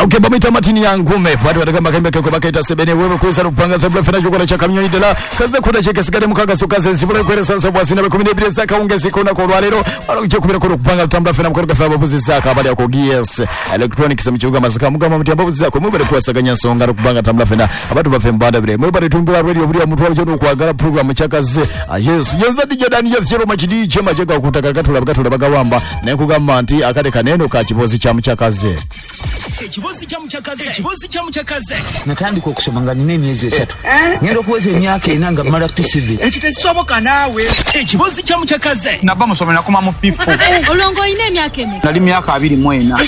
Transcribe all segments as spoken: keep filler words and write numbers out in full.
Okay, bamita Martin Yangume bado watagamba kembe keko bakaita sebene wewe kuweza kupanga tabla fena chokora cha kamyo idela kaza kuna cheke sigade mukaga sokaze nsibula kwere sansa bwasina be kumi n'ebiri zaka ungezi kona ko lwalero balo kubira ko kupanga tambla fena mukoro gafa babuzi zaka abali ako G S Electronics mu kibuga Masaka mugamba muti ababuzi zako mubere kuwasaganya nsonga kupanga tambla fena abantu bafe mbanda bire mubere tumbula radio buri mutwalo cyo okwagala program chakaze. Yes yeza D J Daniel Fyero machidi chema chega kutaka katula katula bagawamba naye kugamba nti akade kaneno ka kibozi kya muchakaze ekibozi kya muchakaze ekibozi kya muchakaze natandika okusoma nga nina emyezi esatu ngenda okuweza emyaka ena nga mmala P C V ekyo tekisoboka naawe ekibozi kya muchakaze nabba musome nakoma mu P four olongo olina emyaka emeka nali myaka abiri mu ena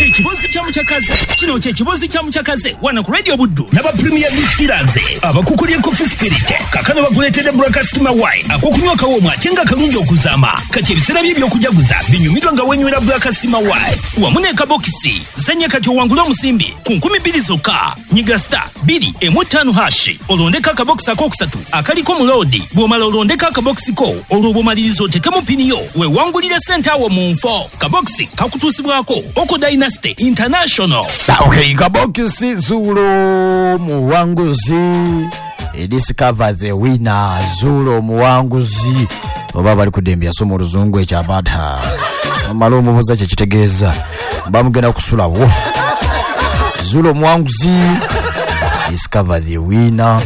ekibozi kya muchakaze kino kye kibozi kya muchakaze wana ku Radio Buddu n'aba Premier Distillers abakukulye Coffee Spirit kakano bakuleetedde Broadcast Wine akokunywa kawooma ate nga kalungi okuzaama kati ebiseera bye ebyokujaguza binyumirwa nga wenywera Broadcast Wine wamu n'ekabokisi zanya kati owangule omusimbi ku nkumi bbiri zokka nyiga star bbiri emu ttaano hashi olondeko akabokisi akokusatu akaliko muloodi bw'omala olondeko akabokisi ko olwo bw'omaliriza otekemu pini yo weewangulire ssente awo mu nfo kabokisi kakutuusibwako Oko Dynasty International. Okay, kabokisi Zulo muwanguzi discover the winner Zulo muwanguzi oba bali kudembya somo oluzungu ekyabadha amala omubuza kye kitegeeza bamugenda kusulawo Zulo muwanguzi discover the winner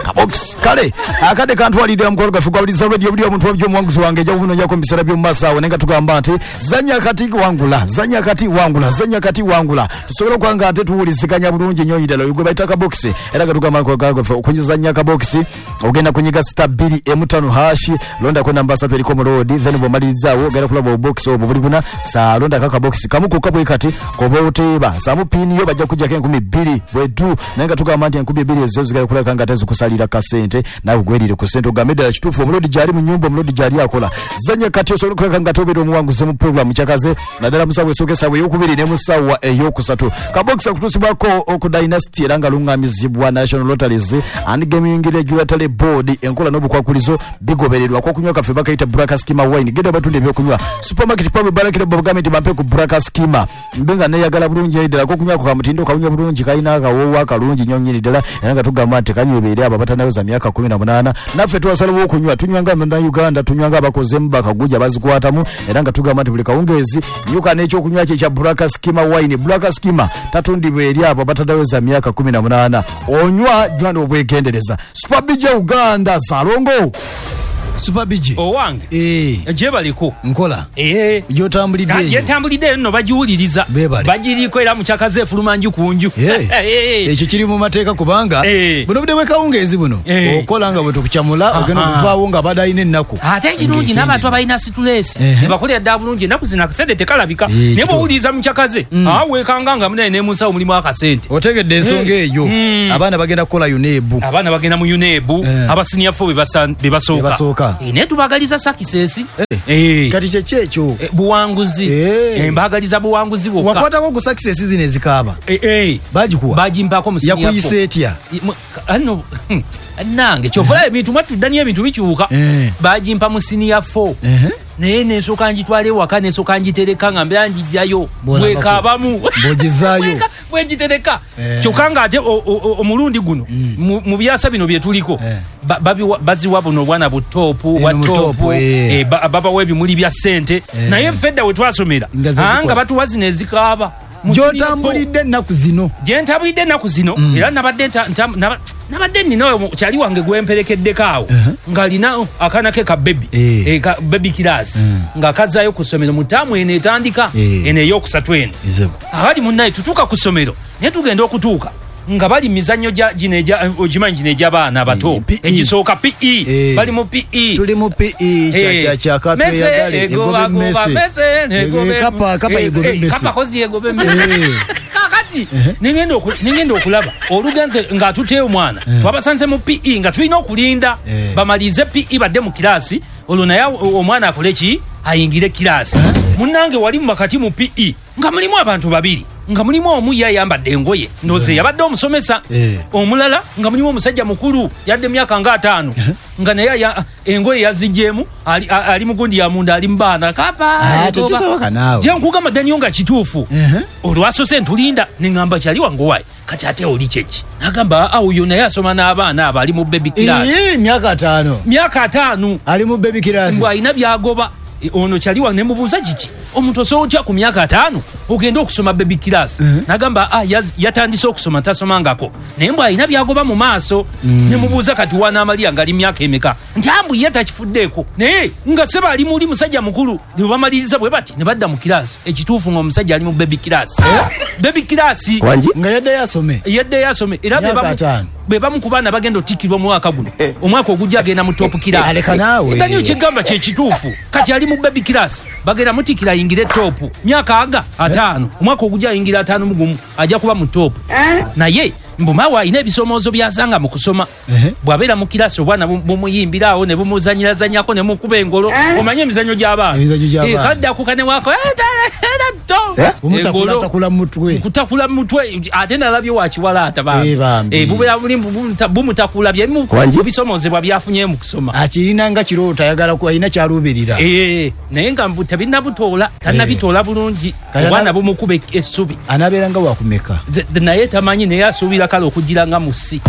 kabokisi kale akade kantwalidde mukolo gaffe gwawuliza radio buli omuntu wabyo omuwanguzi wange ejja kumunonyako mu biseera by'omu maaso awo naye nga tugamba nti zanya kati wangula zanya kati wangula zanya kati wangula tusobole okuba nga ate tuwuliziganya bulungi nnyo ddala oyo gwe bayita kabokisi era nga tugamba gaffe okunyizanya kabokisi ogenda kunyiga sita bbiri emu ttaano hashi londako namba ssatu eriko muloodi then bw'omalirizaawo ogenda kulaba obubokisi obwo buli buna saa londako akabokisi kamu kokka bwe kati koba oteeba saamu piini yo bajja kujjako enkumi bbiri bwetu naye nga tugamba nti enkumi bbiri ezo zigenda kulabika nga ate zikusalira kasente nawe gwerire ku sente ogambe ddala kituufu omulodi gyali mu nyumba omulodi gyali akola zanya kati osobola okulabika nga tobeera omuwanguzi mu pulogulaamu kyakaze naddala mu ssaawa esooka essaawa ey'okubiri ne mu ssaawa ey'okusatu kabokisi akutuusibwako oku Dynasty era nga luŋŋamizibwa National Lotteries and Gaming Regulatory Board enkola n'obukwakulizo bigobererwa akokunywa kaffe bakayita Black Skima Wine genda batunda ebyokunywa supermarket pabe balakire bagambe nti bampe ku Black Skima mbe nga neeyagala bulungi ddala akokunywa ka mutindo kawunya bulungi kalina akawoowo akalungi nnyo nnyini ddala era nga tugamba nti kanywebeere abo abatanaweza myaka kumi na munaana naffe twasalawo okunywa tunywanga Bannayuganda tunywanga abakozemu bakaguja bazikwatamu era nga tugamba nti buli kawungeezi nyuka n'ekyokunywa kye kya Black Skima Wine Black Skima tatundibwa eri abo abatanaweza myaka kumi na munaana onywa jwa n'obwegendereza Super B J Uganda Salongo Super B J owange eh gyebaliko nkola eh gyotambulidde gyetambulidde nno bagiwuliriza bagiriko era mukyakaze efuluma nju ku nju ekyo kiri mu mateeka kubanga buno budde bwekawungeezi buno okola nga bwe tukukyamula ogenda okuvaawo nga abadde alina ennaku ate ekirungi n'abantu abalina situleesi nebakolera ddala bulungi ennaku zino akasente tekalabika naye bw'owuliriza mukyakaze aweekanga nga munaye ne mu nsawo mulimu akasente otegedde ensonga eyo abaana bagenda kukola UNEB abaana bagenda mu UNEB abasiniya fo be basooka naye tubagaliza success kati kyeki ekyo buwanguzi mbagaliza buwanguzi bwokka wakwatako ku success zino ezikaaba bagikuwa bagimpaako mu senior yakuyisa etya ano nange kyova ebintu mwatudda niyo ebintu bikyuka bagimpa mu senior four naye nensooka ngitwala ewaka nensooka ngitereka nga mbeera ngijjayo bwekaabamu bwogizaayo bwegitereka kyokka nga ate omulundi guno mu byasa bino bye tuliko baziwa buno obwana butoopu bwa toopu babawa ebimuli bya ssente naye ffe edda we twasomera nga batuwa zino ezikaaba gyotambulidde ennaku zino gye ntambulidde ennaku zino era nabadde nabadde nina kyali wange gwemperekeddeko awo ng'alina akaana ke ka bebi bebi kiraasi ng'akazaayo ku ssomero mu ttaamu eno etandika eno ey'okusatu eno abali munnaye tutuuka ku ssomero naye tugenda okutuuka nga bali mizannyo gino ogimanyi gino egy'abaana abato egisooka P E bali mu P E tuli mu P E kyakatweyagale egoba emmese kapa kozi egoba emmese kakati nengenda okulaba olugenze ng'atuteyo omwana twabasanze mu P E nga tulina okulinda bamalirize P E badde mu kiraasi olwo naye omwana akole ki ayingire kiraasi munnange wali mu wakati mu P E nga mulimu abantu babiri Nga mulimu omu yayambadde engoye ndoze yabadde omusomesa, Eh. omulala nga mulimu omusajja mukulu yadde emyaka nga ataano, nga naye ya- engoye yaziggyemu, ali, a- ali mugundi ya munda, ali mubaana kapa. Ah, tekisoboka naawe. Je nkugamba Daniel nga kituufu. Ehe. Olwasose ntulinda neŋŋamba kyali wange wayi kati ate oli kyeki, nagamba awo yo naye asoma n'abaana abo ali mu baby class. Ii, myaka ataano. Myaka ataano. Ali mu baby class. Mbw alina byagoba. E, ono kyali wange nemubuuza kiki omuntu osobola otya ku myaka ataano ogenda okusoma baby class? Nagamba ah, yaz- yatandise okusoma tasomangako, naye mbw alina byagoba mu maaso. Nemubuuza kati wanaamalira nga ali myaka emeka, nti ambu ye takifuddeeko, naye nga seba ali muli musajja mukulu. Ne bamaliriza bwe bati ne badda mu kirasi. Ekituufu nga omusajja ali mu baby class, baby class. Nga yaddeyo asome. Yaddeyo asome era be Myaka bamu- ataano. be bamu ku baana bagenda otikkirwa omwaka guno, omwaka ogujja agenda mu top class. Aleka naawe. Daniel kyegamba kyekituufu, kati ali mu baby class, bagenda mutikkira ayingire top myaka aga ataano, omwaka ogujja ayingira ataano mu gumu, ajja kuba mu top. Naye mbumawe alina ebisomoozo byasanga mu kusoma. Ehe. Bw'abeera mu kirasi obwana bu- bumuyimbira awo ne bumuzanyirazanyako ne mukuba engolo, omanye emizannyo gy'abaana. Emizannyo gy'abaana. Eh, kaddako kanewako Bumutakulaatakula mu mutwe. Kutakula mutwe, ate nalabye wakiwalaata. Eh, bambi. Bubeera buli bumuta- bumutakula byemu ebisomozebwa byafunye mu kusoma. Akirina nga kirooto, ayagala ku alina kyaluubirira. Eh, naye nga mbu tebinnabutoola, tannabitoola bulungi. Kale obwana ana- bumukuba essubi. Anabeera nga wakumeka? Ze- naye tamanyi, naye asuubira kale okugira nga mu si.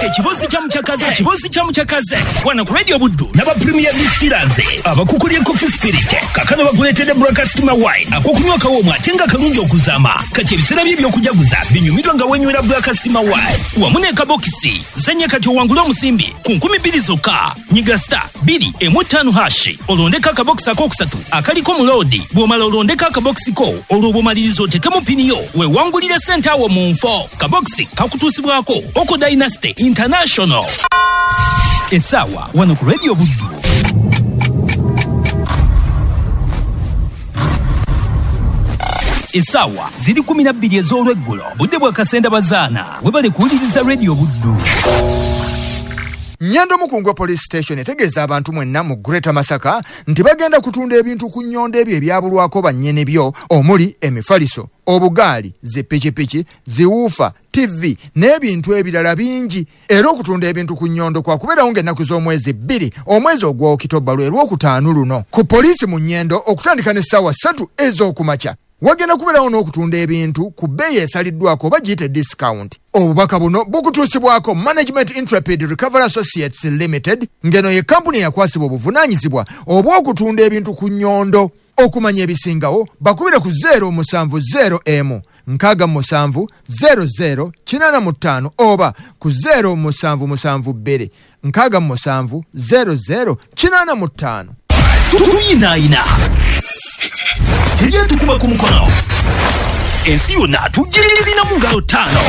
Ekibozi kya mukyakaze, ekibozi kya mukyakaze wano ku Radio Buddu n'aba Premier Distillers abakukulye Coffee Spirit kakano bakuleetedde Broadcast Wine akokunywa kawoomu ate nga kalungi okuzaama. Kati ebiseera bye ebyokujaguza binyumirwa nga wenywera Broadcast Wine wamu n'ekabokisi. Zanya kati owangule omusimbi ku nkumi bbiri zokka. Nyiga star bbiri emu ttaano hash olondeko akabokisi akokusatu akaliko muloodi. Bw'omala olondeko akabokisi ko, olwo bw'omaliriza otekemu pini yo weewangulire ssente awo mu nfo. Kabokisi kakutuusibwako Oko Dynasty International. Essaawa wano ku Radio Buddu essaawa ziri kumi na bbiri ez'olweggulo, budde bwa kasenda bazaana. Webale kuwuliriza Radio Buddu. Nyendo Mukungwe Police Station etegeeza abantu mwenna mu Greater Masaka nti bagenda kutunda ebintu ku nnyondo ebyo ebyabulwako bannyini byo, omuli emifaliso, obugaali, zipikipiki, ziwuufa, T V n'ebintu ebirala bingi. Era okutunda ebintu ku nnyondo kwakubeerawo ng'ennaku z'omwezi bbiri omwezi ogwa Okitoba lwe lwokutaano luno ku poliisi mu Nyendo okutandika n'essaawa ssatu ez'okumakya. Wagenda kubeerawo n'okutunda ebintu ku bbeeyi esaliddwako oba giyite discount. Obubaka buno bukutuusibwako Management Intrepid Recovery Associates Limited, ng'eno ye kampuni eyakwasibwa obuvunaanyizibwa obw'okutunda ebintu ku nnyondo. Okumanya ebisingawo bakubire ku zero musanvu zero emu nkaaga mu musanvu zero zero kinaana mu ttaano oba ku zero musanvu musanvu bbiri nkaaga mu musanvu zero zero kinaana mu ttaano. Tuyinaayina teryetukuba ku mukono, ensi yonna tugirina mu ngalo ttaano.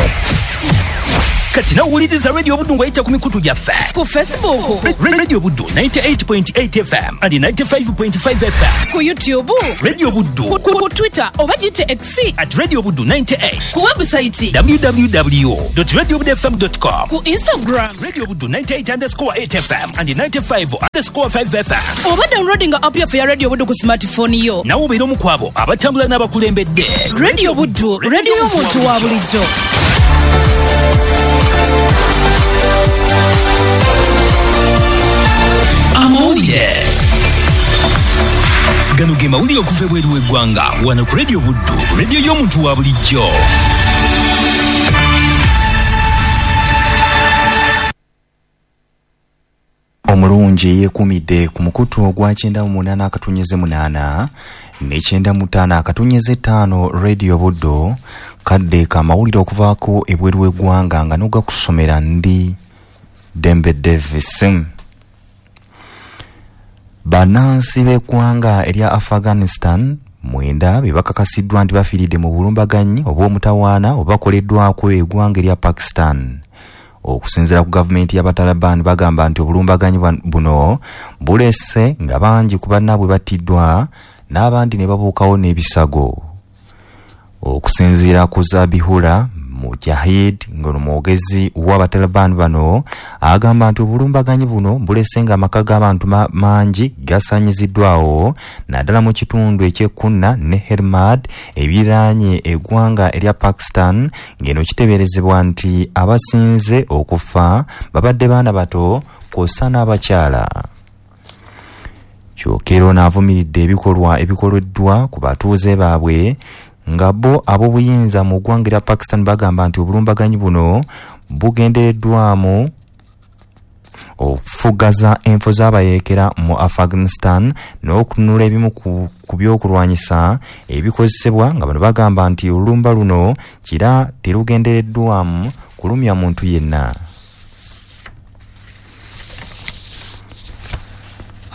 Kati nawuliriza Radio Buddu ng'oyita ku mikutu gyaffe. Ku Facebook, Radio Buddu ninety-eight point eight F M and ninety-five point five F M. Ku YouTube, Radio Buddu. ku, ku, ku Twitter oba giyite X, at Radio Buddu ninety-eight. Ku website w w w dot radio buddu f m dot com. Ku Instagram, Radio Buddu ninety-eight underscore eight F M and ninety-five underscore five F M. Oba downloadinga app yaffe ya Radio Buddu ku smartphone yo. Nawe obeera omu ku abo abatambula n'abakulembedde. Radio Buddu, radio y'omuntu wa bulijjo. Amawulire gano ge mawulire okuva ebweru w'eggwanga wano ku Radio Buddu, radio y'omuntu wa bulijjo. Omulungi yeekuumidde ku mukutu ogwa kyenda mu munaana akatunyeze munaana ne kyenda mu ttaano akatunyeze ttaano Radio Buddu. Kadde kamawulire okuvaako ebweru w'eggwanga nga n'ogakusomera ndi Dembe Davis. Bannansi b'eggwanga erya Afghanistan mwenda be bakakasiddwa nti bafiiridde mu bulumbaganyi obw'omutawaana obakoleddwako eggwanga erya Pakistan. Okusinziira ku gavumenti y'Abataliban, bagamba nti obulumbaganyi buno bulese nga bangi ku bannaabwe battiddwa n'abandi ne babuukawo n'ebisago. Okusinziira ku Zabihullah Mujahid ng'ono mwogezi w'Abataliban bano agamba nti obulumbaganyi buno bulese nga amaka g'abantu mangi gasaanyiziddwawo naddala mu kitundu eky'e Kunna ne Helmand ebiriraanye eggwanga erya Pakistan, ng'eno kiteeberezebwa nti abasinze okufa babadde baana bato kw'ossa n'abakyala. Kyokka era ono avumiridde ebikolwa ebikoleddwa ku batuuze baabwe, nga bo ab'obuyinza mu ggwanga erya Pakistan bagamba nti obulumbaganyi buno bugendereddwamu okufugaza enfo z'abayeekera mu Afghanistan n'okununula ebimu ku, ku byokulwanyisa ebikozesebwa, nga bano bagamba nti olulumba luno kira terugendereddwamu kulumya muntu yenna.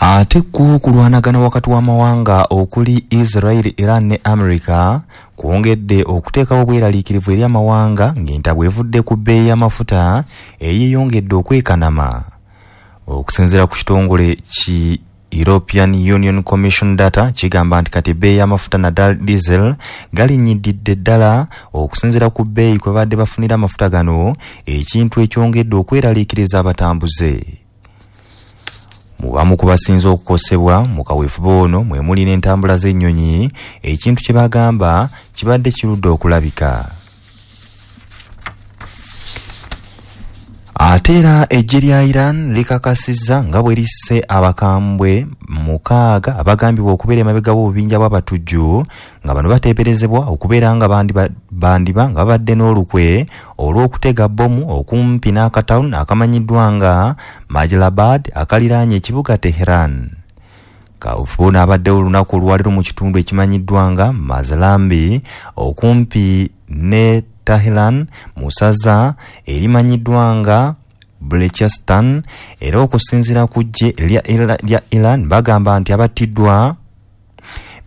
Ate ku kulwanagana wakati w'amawanga okuli Israel, Iran ne America kwongedde okuteekawo obweraliikirivu eri amawanga ng'entabwe evudde ku bbeeyi y'amafuta eyeeyongedde okwekanama. Okusinziira ku kitongole ki European Union Commission data kigamba nti kati ebbeeyi y'amafuta naddala diesel galinnyidde ddala okusinziira ku bbeeyi kwe badde bafunira amafuta gano, ekintu ekyongedde okweraliikiriza abatambuze. Mu bamu ku basinze okukosebwa mu kaweefube ono mwe muli n'entambula z'ennyonyi, ekintu kye bagamba kibadde kirudde okulabika. Ate era eggye lya Iran likakasizza nga bwe lisse abakambwe mukaaga abagambibwa okubeera emabega w'obubinja bw'abatujju, nga bano bateeberezebwa okubeera nga bandiba, bandiba nga babadde n'olukwe olw'okutega bbomu okumpi n'akatawuni akamanyiddwa nga Majlabad akaliraanye ekibuga Tehran. Kaweefube ono abaddewo olunaku olwaleero mu kitundu ekimanyiddwa nga Mazlambi okumpi ne Tehran mu ssaza erimanyiddwa nga Balochistan. Era okusinziira ku ggye lya Iran bagamba nti abattiddwa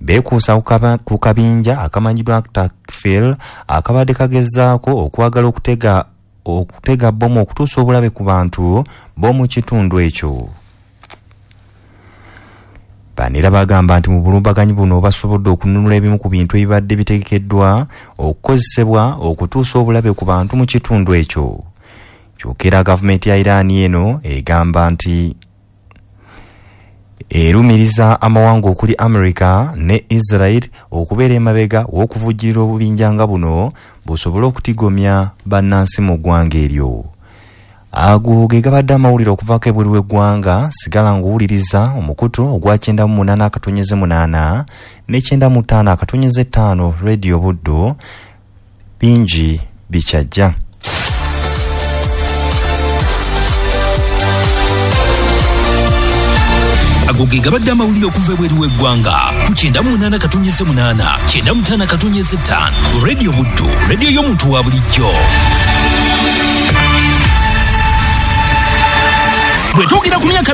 beekuusa ku kabinja akamanyiddwa Takfir akabadde kagezaako okwagala okutega okutega bbomu okutuusa obulabe ku bantu b'omu kitundu ekyo. Bano era bagamba nti mu bulumbaganyi buno basobodde okununula ebimu ku bintu ebibadde bitegekeddwa okukozesebwa okutuusa obulabe ku bantu mu kitundu ekyo. Kyokka era gavumenti ya Iran eno egamba nti erumiriza amawanga okuli America ne Israel okubeera emabega w'okuvujjirira obubinja nga buno busobole okutigomya bannansi mu ggwanga eryo. Ago ge gabadde amawulire okuvaako ebweru w'eggwanga. Sigala ng'owuliriza omukutu ogwa kyenda mu munaana akatonyeze munaana ne kyenda mu ttaano akatonyeze ttaano Radio Buddu. Bingi bikyajja. Ago ge gabadde amawulire okuva ebweru w'eggwanga ku kyenda mu munaana katonyeze munaana kyenda mu ttaano akatonyeze ttaano Radio Buddu, radio y'omuntu wa bulijjo. Bwe twogera ku myaka